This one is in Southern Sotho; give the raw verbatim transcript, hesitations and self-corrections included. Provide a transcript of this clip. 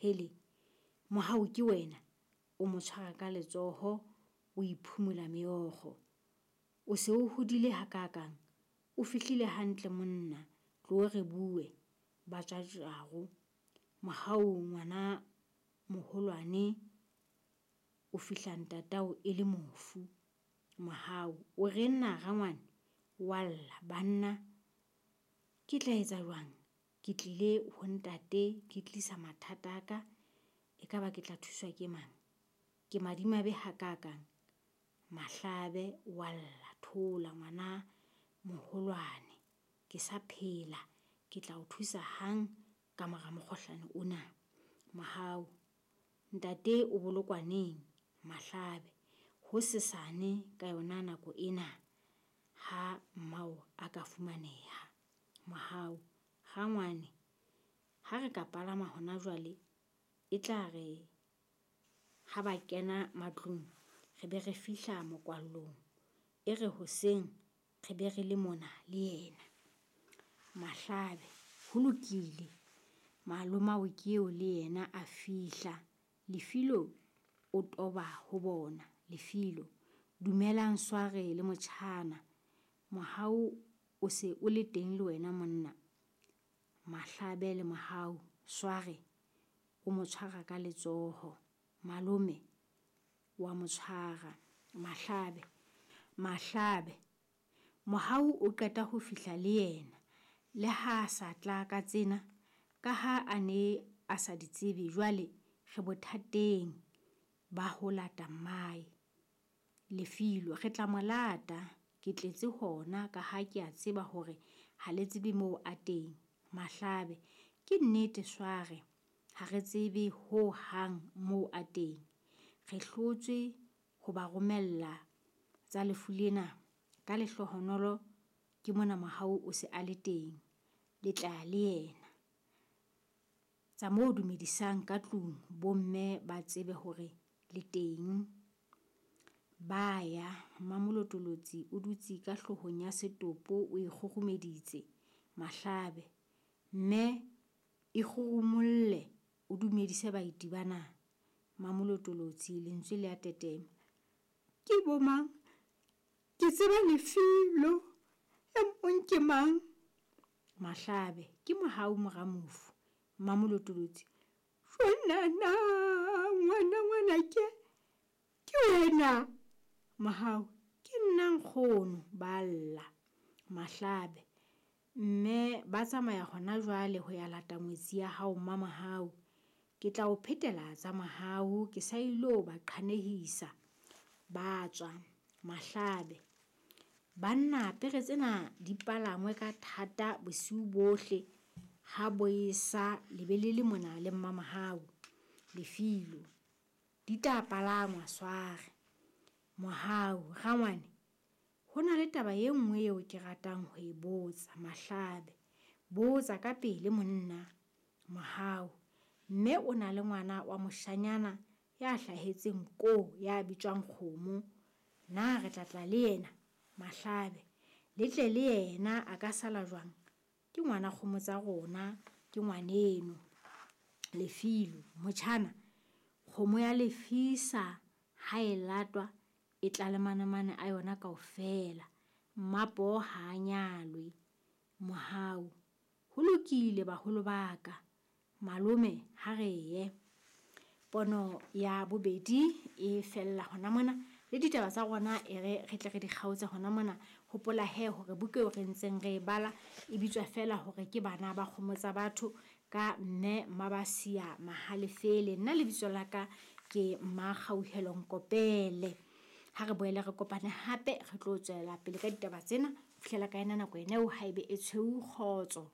Kgele, Mohau ke wena? O mo tshwara ka letsoho, o iphumula meokgo. O se o hodile hakaakang? O fihlile hantle monna, tloo re bue. Ba tswa jago. Mohau ngwana moholwane o fihla ntatao e le mofu. Mohau, o reng na rangwane? Wa lla, banna ke tla etsa jwang? Ke tlile ho ntate ke tlisa mathata a ka, ekaba ke tla thuswa ke mang? Ke madimabe hakaakang. Mahlabe wa lla, thola ngwana moholwane, ke sa phela, ke tla o thusa hang ka mora mokgohlane ona. Mohau, ntate o bolokwa neng? Mahlabe, hosesane ka yona nako ena ha mmao a ka fumaneha. Mohau, rangwane, ha re ka palama hona jwale, e tla re ha ba kena matlung re be re fihla mokwallong. E re hoseng re be re le mona le yena. Mahlabe, ho lokile. Malomao ke eo le yena a fihla. Lefilo o toba ho bona. Lefilo, dumelang Sware le motjhana. Mohau o se o le teng le wena monna. Mahlabe le Mohau, Sware o mo tshwara ka letsoho. Malome wa mo tshwara. Mahlabe, Mahlabe, Mohau o qeta ho fihla le yena. Le ha a sa tla ka tsena, ka ha a ne a sa di tsebe, jwale re bothateng ba ho lata mmae. Lefilo, re tla mo lata, ke tletse hona ka ha ke a tseba hore ha le tsebe moo a teng. Mahlabe, ke nnete Sware, ha re tsebe ho hang moo a teng. Re hlotswe ho ba romella tsa lefu lena. Ka lehlohonolo ke mona Mohau o se a le teng. Le tla le yena. Tsa moo dumedisang ka tlung, bomme ba tsebe hore le teng. Ba ya, Mmamolotolotsi o dutse ka hloohong ya setopo o ikgurumeditse. Mahlabe, mme ikgurumolle o dumedise baeti bana. Mmamolotolotsi lentswe le a tetema. Ke bo mang? Ke tseba Lefilo, e mong ke mang? Mahlabe, ke Mohau mora mofu. Mmamolotolotsi, shonana ngwana ngwanake, ke wena? Mohau, ke nna nkgono, ba lla. Mahlabe, mme ba tsamaya hona jwale ho ya lata ngwetsi ya hao Mmamohau. Ke tla o phetela tsa Mohau, ke sa ilo ba qhanehisa. Ba tswa. Mahlabe, banna pere tsena di palangwe ka thata bosiu bohle ha bo esa le be le le mona le Mmamohau. Lefilo, di tla palangwa Sware. Mohau, rangwane, ho na le taba e nngwe eo ke ratang ho e botsa. Mahlabe, botsa ka pele monna. Mohau, mme o na le ngwana wa moshanyana ya hlahetseng koo ya bitswang Kgomo. Na re tla tla le yena? Mahlabe, le tle le yena a ka sala jwang? Ke ngwana kgomo tsa rona, ke ngwaneno. Lefilo, motjhana, kgomo ya lefisa ha e latwa e tla le manamane a yona kaofela. Mmapoho ha a nyalwe. Mohau, ho lokile baholo ba ka. Malome ha re ye. Pono ya bobedi e fella hona mona. Le ditaba tsa rona e re re tle re di kgaotse hona mona. Hopola he hore buka eo re ntseng re e bala e bitswa feela hore ke Bana ba Kgomo tsa Batho ka mme Mmabasia Mahalefele. Nna lebitso la ka ke Mmakgauhelo Nkopele. Ha re boele re kopane hape re tlo tswela pele ka ditaba tsena. Fihlela ka ena nako ena eo haebe e tshweu, kgotso.